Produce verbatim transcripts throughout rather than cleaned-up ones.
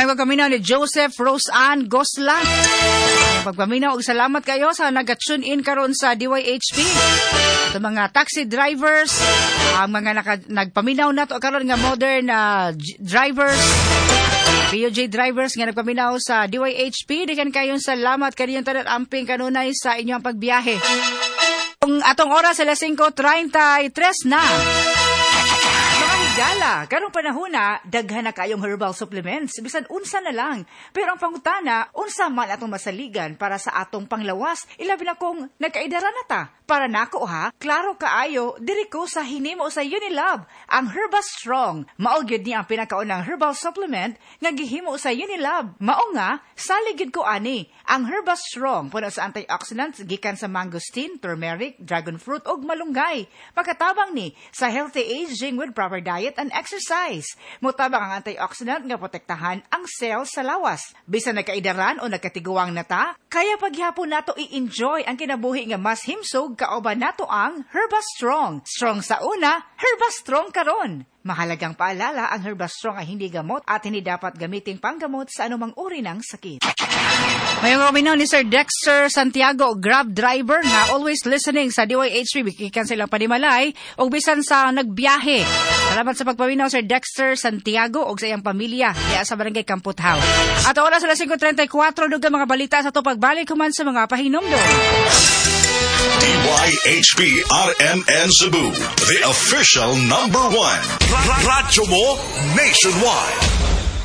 May pagpaminaw ni Joseph Rose Ann Gosla. Pagpaminaw og salamat kayo sa nag-tune in karon sa D Y H P. Sa mga taxi drivers, ang mga naka, nagpaminaw nato karon nga modern uh, drivers, P U J drivers nga nagpaminaw sa D Y H P, daghan kayong salamat kaniyong tanan, amping kanunay sa inyong pagbiyahe. Ang atong oras, alas singko trintay tres na. Mga higala, karong panahon na, daghan na kayong herbal supplements, bisan unsa na lang. Pero ang pangutana, unsa man atong masaligan para sa atong panglawas, ilabi na kung nagkaidara na ta? Para nako ha, klaro kaayo, diri ko sa hinimo sa Unilab, ang Herba Strong. Mao gyud ni ang pinakaunang herbal supplement nga gihimo sa Unilab. Mao nga, salig gyud ko ani. Ang Herba Strong puno sa antioxidants gikan sa mangosteen, turmeric, dragon fruit ug malunggay. Makatabang ni sa healthy aging with proper diet and exercise. Motabang ang antioxidant nga protektahan ang cells sa lawas. Bisan nagkaidaran o nagkatiguang na ta, kaya paghapon nato i-enjoy ang kinabuhi nga mas himsog kauban nato ang Herba Strong. Strong sa una, Herba Strong karon. Mahalagang paalala, ang Herba Strong ay hindi gamot at hindi dapat gamiting panggamot sa anumang uri ng sakit. May paminaw ni Sir Dexter Santiago, Grab driver nga always listening sa D Y H P, gikan sa ilang panimalay ug bisan sa nagbiyahe. Salamat sa pagpaminaw, Sir Dexter Santiago, ug sa iyang pamilya diya sa Barangay Kamputhaw. At oras, alas singko trintay kwatro, dugang mga balita sa ato pagbalik human sa mga pahinumdom. D Y H P R M N Cebu, the official number one. Radyo mo nationwide.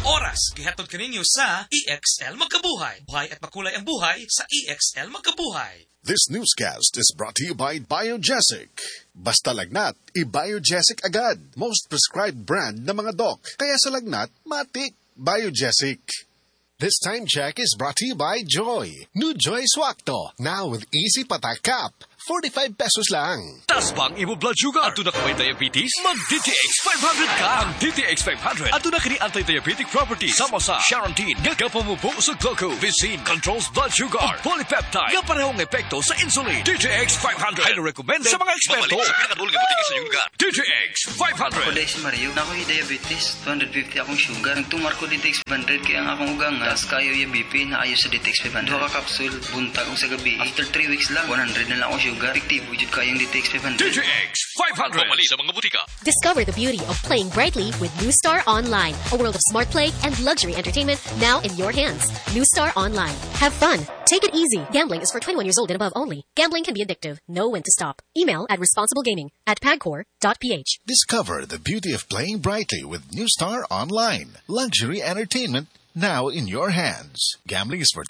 Oras, gihatod kaninyo sa E X L Magkabuhay. Buhay at makulay ang buhay sa E X L Magkabuhay. This newscast is brought to you by Biogesic. Basta lagnat, i-Biogesic agad. Most prescribed brand ng mga doc. Kaya sa lagnat, matik, Biogesic. This time check is brought to you by Joy. New Joy Swakto. Now with easy patak cap. forty-five pesos lang. Taas ba ang imo blood sugar? Aduna ka may diabetes? Mag-D T X five hundred ka! Ang D T X five hundred, aduna kini anti-diabetic properties. Sama sa Charantin, nga kapamubo sa glucose. Vicine, controls blood sugar. Ug polypeptide, nga parehong epekto sa insulin. D T X five hundred, highly recommended sa mga eksperto. Mabalik sa pinakadul nga butika sa inyong lugar. D T X five hundred. Ako diay si Mario. Naa koy diabetes, two hundred fifty akong sugar. Nagtumar ko D T X five hundred kay ang akong ugang taas kayo yung B P na ayo sa D T X five hundred. Duha ka capsule buntag ug sa gabi. After three weeks lang, one hundred na lang akong sugar. Epektibo jud kayong D T X five hundred. D T X five hundred. Pamali sa mga butika. Discover the beauty of playing brightly with New Star Online, a world of smart play and luxury entertainment now in your hands. New Star Online. Have fun. Take it easy. Gambling is for twenty-one years old and above only. Gambling can be addictive. Know when to stop. Email at responsiblegaming at pagcor dot P H. Discover the beauty of playing brightly with New Star Online. Luxury entertainment now in your hands. Gambling is for